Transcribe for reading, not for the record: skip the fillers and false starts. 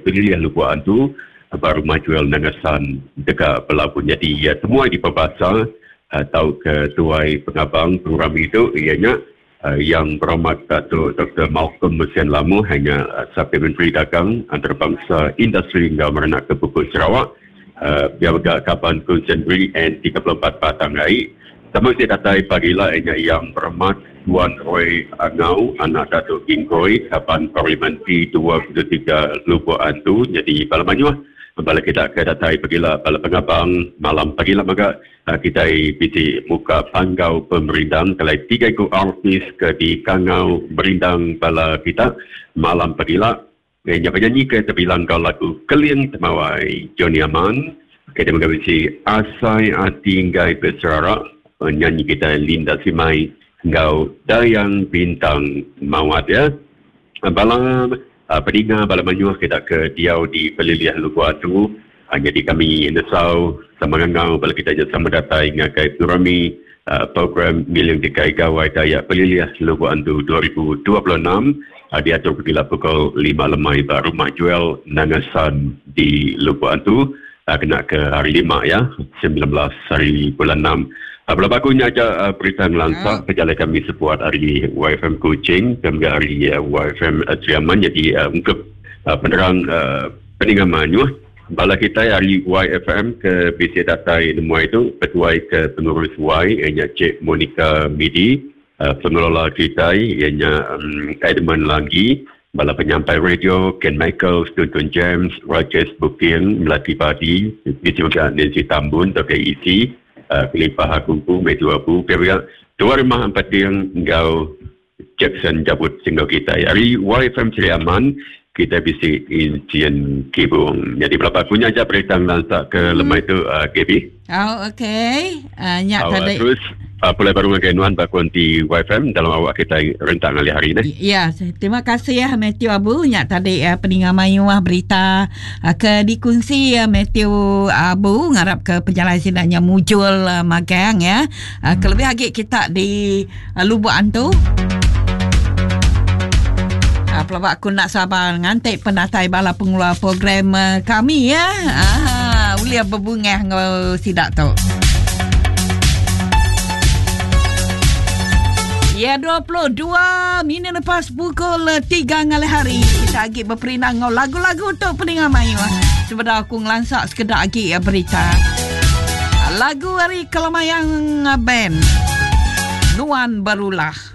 Pelilih Lubok Antu ba Rumah Joel Nanga San deka belabuh nyadi temuai dipebasa tauka tuai pengabang pengerami tu iya nya Yang Berhormat Datuk Doktor Malcolm Mussen Lamoh iya nya Sapit Menteri Dagang Antarabangsa Industri enggau Merenak ke Puput Sarawak pia mega Kaban Kunsil Negeri N34 Batang Ai. Sama bisi datai pagila iya nya Yang Berhormat Tuan Roy Angau anak Datuk Gingkoi Kaban Parlimen P23 Lubok Antu nyadi bala mayuh bala kita ke datai pagila bala pengabang malam pagila mega. Kitai bisi muka panggau pemerindang kelai tiga iku artis ke dikangau merindang bala kita malam pagila. Iya nya penyanyi ke tebilang enggau lagu Keling Temawai, Johnny Aman. Kitai mega bisi Asai Ati Enggai Beserara, penyanyi kitai Linda Simai enggau Dayang Bintang Mawat iya. Bala peninga bala mayuh kita ke diau di pelilih Lubok Antu nyadi kami nesau sama ngangau bala kita nya sama datai ngagai pengerami program Ngiling Tikai Gawai Dayak Pelilih Lubok Antu 2026 diatur pegila pukul lima lemai ba Rumah Joel Nanga San di Lubok Antu. Kena ke hari lima ya, 19 hari bulan enam. Bela baku nya aja berita ngelansa pejalai kami sebuat ari YFM Kuching ke mega ari YFM Sri Aman nyadi ungkup penerang peninga mayuh. Bala kitai ari YFM ke bisi datai nemuai tu ketuai ke pengurus Y iya nya Cik Monica Midi, Pengelola kitai iya nya Edmund Langgi, bala penyampai radio Ken Michael, Tuntun James, Rajesh Buking, Melati Badi, bisi mega Nancy Tambun tauka EC, kelimpah aku empu Matthew Abu pia mega Tuai Rumah Empeting enggau Jackson Jabut singgah kitai. Ari YFM Sri Aman kitai bisi Insian Kibung. Nyadi belapa aku nya aja berita ngelansa ke lemai tu Gaby. Oh okey. Nya oh, tadi. Terus pulai baru ngagai nuan ba konti YFM dalam awak kitai rentak ngalih hari ni. Ya, terima kasih ya Matthew Abu nya tadi uh, peninga mayuh berita uh, ke dikunsi uh, Matthew Abu ngarap ke pejalai sida nya mujul uh, magang ya. Uh, kelebih agi kita di Lubuk Antu. Ah, pelaba aku nak sabar nganti penatai bala pengeluar program eh, kami ya. Ah, ulih berbungah enggau sidak tu. Ya 22 minit lepas pukul 3 ngalih hari kita agi beperinang enggau lagu-lagu tu peninga mayuh. Sebedau aku ngelansa sekeda agi eh, berita. Lagu ari Kelemayang Band. Nuan Berulah.